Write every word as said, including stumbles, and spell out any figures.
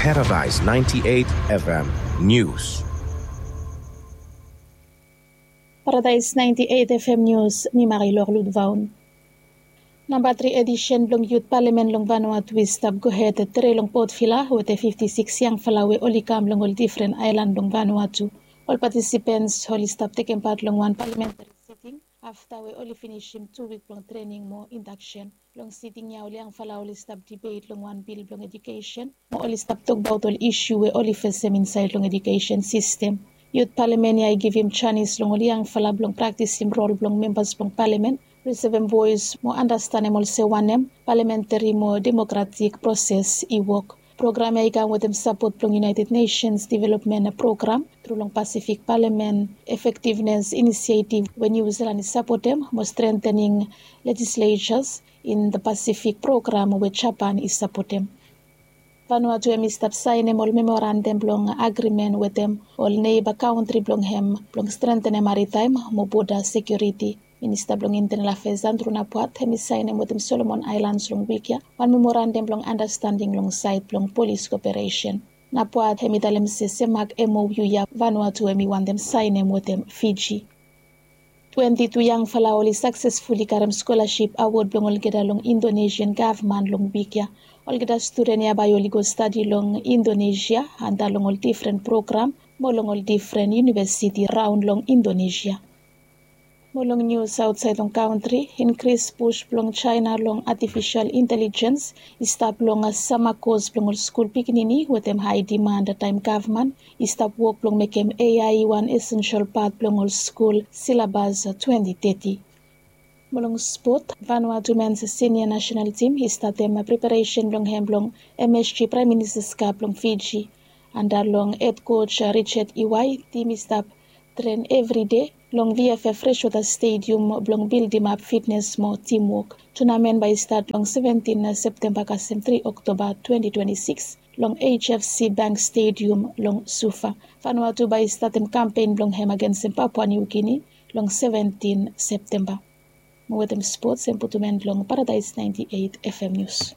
Paradise ninety-eight F M News. Paradise ninety-eight F M News, mi Marilor Ludvaun. Namba tri edisen blong Yut Palamen long Vanuatu i stap gohed tre long Port Vila wetem fifti sikis yangfala we oli kam long ol difren aelan blong Vanuatu. Ol patisipens oli stap tekem pat long wan palamentari siting afta we oli finisim tu wik blong trening mo indaksen. Long siting ya ol yangfala oli stap dibet long wan bil blong ejukesen mo oli stap tokbaot ol isu we oli fesem insaed long ejukesen sistem. Yut palamen ya i givim janis long ol yangfala blong praktisim rol blong membas blong palamen, risivim voes mo andastanem olsem wanem palamentari mo demokratik proses i wok. Program ya i kam wetem sapot blong United Nations Development Program tru long Pasifik Palamen Efektivnes Inisietiv we Niu Zilan i sapotem mo strengthening legislatures in the Pacific program we Japan i sapotem. Vanuatu hem i stap saenem ol memorandam blong agrimen wetem ol neiba kantri blong hem blong strengthenem maritaem mo boda sekiuriti. Minista blong Intenal Afeas Andrew Napuat hem i saenem wetem Solomon Aelans long wik ya wan memorandam blong andastanding long saed blong polis koperesen. Napuat hem i talem se semak M O U ya Vanuatu hem i wantem saenem wetem Fiji. Twenti tu yangfala oli saksesfuli karem skolasip awod blong olgeta long Indonesian gavman long wik ya. Olgeta studen ya bae oli go stadi long Indonesia antap long ol difren program mo long ol difren iunivesiti raon long Indonesia. Mo long nius aotsaed long kantri, inkris pus blong Jaena long atifisol intelijens i stap long sama kos blong ol skul pikinini wetem hae dimand taem gavman i stap wok blong mekem A I wan esensol pat blong ol skul silabas twenti teti. Mo long spot, Vanuatu mens sinia nasenal tim i statem preparesen blong hem blong M S G Praem Ministas Kap blong Fiji. Antap long hed koj Richard Iwai, tim i stap tren evride long V F F Freshwater Stadium blong bildimap fitnes mo timwok. Tunamen bae i stat long seventin Septemba kasem tri Oktoba twenti twenti sikis long H F C Bank Stadium long Suva. Vanuatu bae i statem kampen blong hem agensem Papua Niu Gini long seventin Septemba. Mo wetem spots hem putum en long Paradise naenti eit F M Nius.